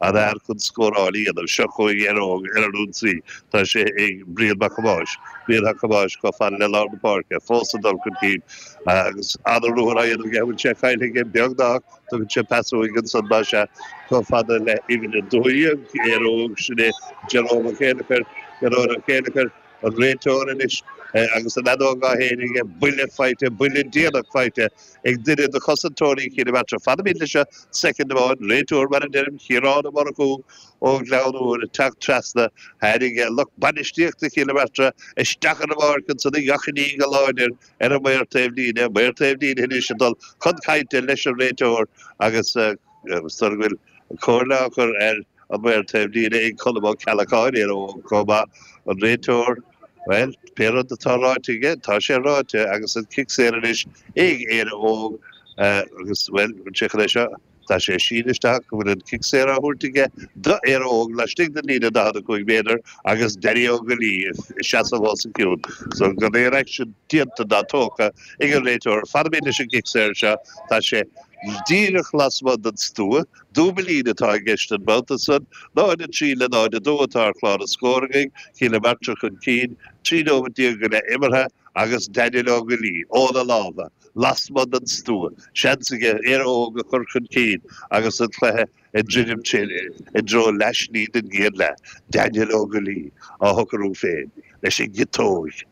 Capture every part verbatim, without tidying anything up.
An fhear chun scóráil a dhéanamh. Seo chugainn Éire Óg ar an ionsaí. Tá sé ag Brian Mac Thomáis. Brian Mac Thomáis chomh fada le lár na páirce, fós ag dul chun cinn agus an-ruathar á dhéanamh aige. Bhfuil sé caillte aige? Beagnach. Tugann sé pas uaidh ansan, más ea, chomh fada le uimhir a dó dhéag, Éire Óg, sin é Jerome Ó Céilleachair, Gearóid Ó Céilleachair, an réiteoir anois agus an fheadóg á shéideadh aige, buille faighte, buille déanach faighte ag duine de chosantóirí Chill Martra. Fanfaimid leis seo soicind amháin, réiteoir mar a deirim, Ciarán Ó Murchú ó Ghleann Úr ag teacht trasna, tháinig lucht bainistíochta Chill Martra isteach ar an bpáirc ansan ag achainí go láidir ar an maor taobh líne, maor taobh líne anois ag dul chun cainte leis an réiteoir agus is dóigh go bhfuil comhairle á chur ar an maor taobh líne ag Colm Ó Ceallacháin, Éire Óg chomh maith, an réiteoir, bhuel, pé rud atá ráite aige, tá sé ráite agus an cic saor anois ag Éire Óg agus, bhuel, an sé chun é seo, tá sé ag síneadh isteach go bhfuil an cic saor á thabhairt aige do Éire Óg laistigh den líne daichead a cúig méadar agus Danny Ó Goillí ag seasamh os a cionn. So gan aon aicsean déanta ná tógtha ag an réiteoir, fanfaimid leis an gcic saor seo, tá sé díreach lasmuigh den stua. Dúbailín atá i gceist an babhta san. náid a trí le náid a dó atá ar chlár na scór againn, Cill na Martra chun cinn, trí nóiméad déag go leith imeartha agus Daniel Ó Goillí óna lámha lasmuigh den stua. Seans aige Éire Óg a chur chun cinn agus an cluiche ag druidim i dtreo leathshlí den gcéad leath. Daniel Ó Goillí á shocrú féin leis an gciotóg.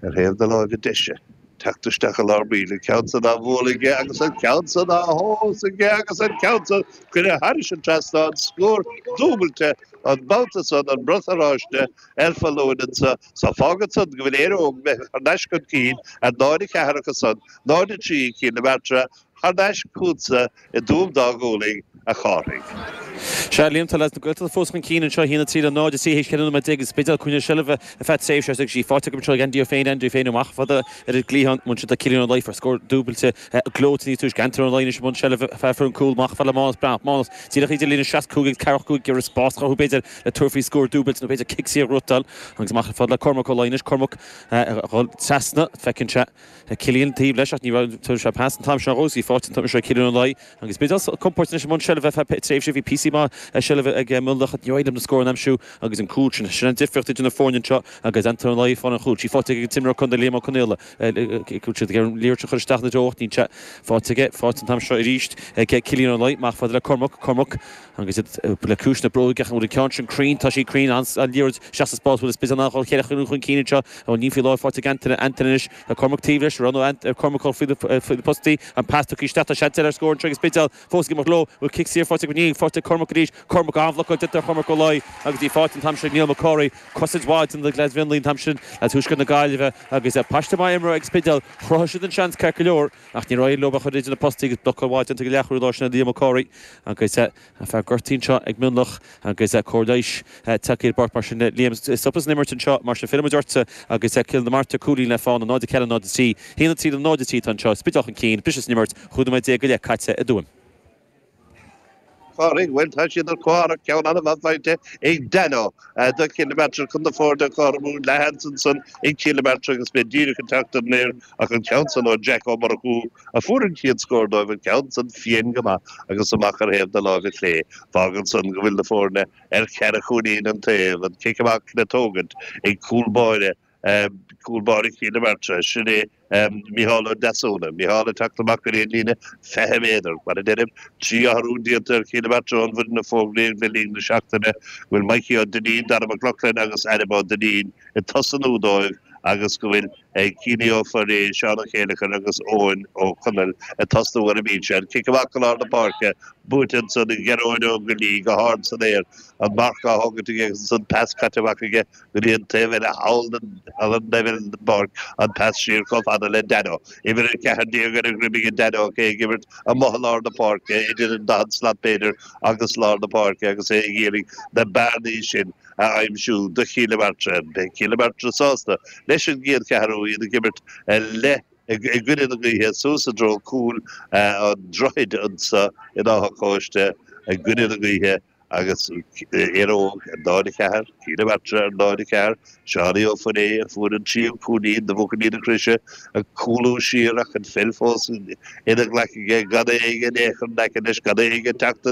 Ar thaobh na láimhe deise, teacht isteach i lár baill, an ceann san á bhualadh aige agus an ceann san á thomhas aige agus an ceann san curtha thairis an trasnán, scór dúbailte an babhta san, an brat oráiste ar foluain anso. So fágann san go bhfuil Éire Óg imithe thar n-ais chun cinn ar náid a ceathair acu san, náid a trí ag Cill na Martra, Thar n-ais chugatsa i dTuaim Dá Ghualainn, a Chárthaigh. Sea, Liam, tá leaids na Gaeltachta fós chun cinn anseo, a haon a trí le náid a trí théis ceithre nóiméad déag agus Spidéal ag coinneáil seilbhe ar feadh tréimhse agus í faighte acu anseo ag Andy Ó Féin, Andy Ó Féin amach fada ar an gcliathán, bhain siad le Cillian Ó Laoi fuair scór dúbailte gleoite níos túisce, Antaine Ó Laoi anois i mbun seilbhe fear an cúl amach fada le Mánas Breathnach, Mánas díreach idir líne seasca cúig agus ceathracha cúig ag iarraidh spás a chruthú b'fhéidir le tabhairt faoi scór dúbailte nó b'fhéidir cic saor a ghnóthachtáil agus amach fada le Cormac Ó Laoi anois, Cormac a dhul trasna, feiceann sé. Cillian taobh leis ach ní raibh tabharfaidh sé pas an t-am seo dhó is í faighte an t-am seo ag Cillian Ó Laoi agus Spidéal compordach anois i mbun seilbhe feadh tréimhse bhí píosaí maith seilbhe ag Mionlach ach níor éirigh leo na scóranna a aimsiú agus an cúl sin sin an difríocht idir na foirne anseo agus Antaine Ó Laoi ag fáil an chúil sí faighte ag an t-imreoir contae Liam Ó Conaola go siad ag an liathróid a chur isteach ina dtreo ach níl sé faighte aige faighte an t-am seo arís ag Cillian Ó Laoi amach fada le Cormac Cormac agus iad le cúis na bróige ach an bhfuil an ceann sin cruinn tá sí cruinn an liathróid isteach sa spás bhfuil Spidéal in ann dul cheithre chun cinn anseo níl faoi láthair faighte ag Antaine Antaine anois Tá Cormac taobh leis, roghnóidh Cormac dul faoi na postaí, an pas tugtha isteach, tá seans eile ar scór anseo ag Spidéal, fós ag imeacht leo, bhfuil cic saor faighte acu, níl, faighte ag Cormac arís, Cormac an-bhlocáil déanta ar Chormac Ó Laoi agus í faighte an t-am sin ag Niall Mac Cárthaigh, cosaint mhaith déanta ag leaids Mhionlaigh an t-am sin, leaids Thuaisceart na Gaillimhe agus paiste maith imeartha ag Spidéal, chruthaigh siad an seans ceart go leor ach níor éirigh leo a chur idir na postaí agus blocáil mhaith déanta ag an leathchúlaí láir sin Liam Mac Cárthaigh agus fear gortaithe anseo ag Mionlach agus cóir leighis tagtha ar an bpáirc mar sin Liam stopadh san imirt anseo mar sin fillfidh muid ortsa agus Cill na Martra cúilín le fána náid a ceathair náid a trí haon a trí le náid a trí atá anseo Spidéal chun cinn briseadh san imirt chúig nóiméad déag go leith caite i dTuaim. Chárthaigh, bhuel tá siad ar comhtharrac ceann an-mhaith faighte ag Dano do Chill na Martra chun na foirne a chothromú leathsheans ansan ag Cill na Martra agus mé díreach ag teacht ar an aer ach an ceann san ó Jack Ó Murchú a fuair an chéad scór dóibh, an ceann san fiain go maith agus amach ar thaobh na láimhe clé. Fágann san go bhfuil na foirne ar cheithre chúilín an taobh, an cic amach le tógaint ag cúl báire, cúl báire Chill na Martra, sin é Micheál Ó Deasúna. Micheál ag teacht amach go dtí an líne fiche méadar. Mar a deirim, trí athrú déanta ar Chill na Martra ón bhfoireann a fógraíodh le linn na seachtaine, go bhfuil Mikey Ó Duinnín, Dara Mac Lochlainn agus Adam Ó Duinnín ag tosnú dóibh agus go bhfuil Cianaí Ó Foirréidh, Seán Ó Céileachair agus Eoin Ó Conaill ag tosnú ar an mbinse. An cic amach go lár na páirce, buaite ansan ag Gearóid Ó Goillí go hard san aer, an marc á thógaint aige agus ansan pas caite amach aige go dtí an taobh eile thall den leibhéal den bpáirc, an pas siar chomh fada le Dano. Uimhir a ceathair déag ar a dhroim aige Dano, é ag imirt amuigh i lár na páirce, idir an daichead slat b'fhéidir agus lár na páirce agus é ag iarraidh na bearnaí sin a aimsiú do Chill na Martra. Beidh Cill na Martra sásta leis an gcéad cheathrú, iad ag imirt le i gcoinne na gaoithe suas i dtreo cúl an droichid anso in Áth an Chóiste i gcoinne na gaoithe agus Éire Óg ar náid a ceathair, Cill na Martra ar náid a ceathair, Seánie Ó Foirréidh a fuair an tríú cúilín do bhuachaillí na Croise ag cúlú siar ach an pheil fós ina ghlac aige gan é aige in aon chor in aice leis, gan é aige teacht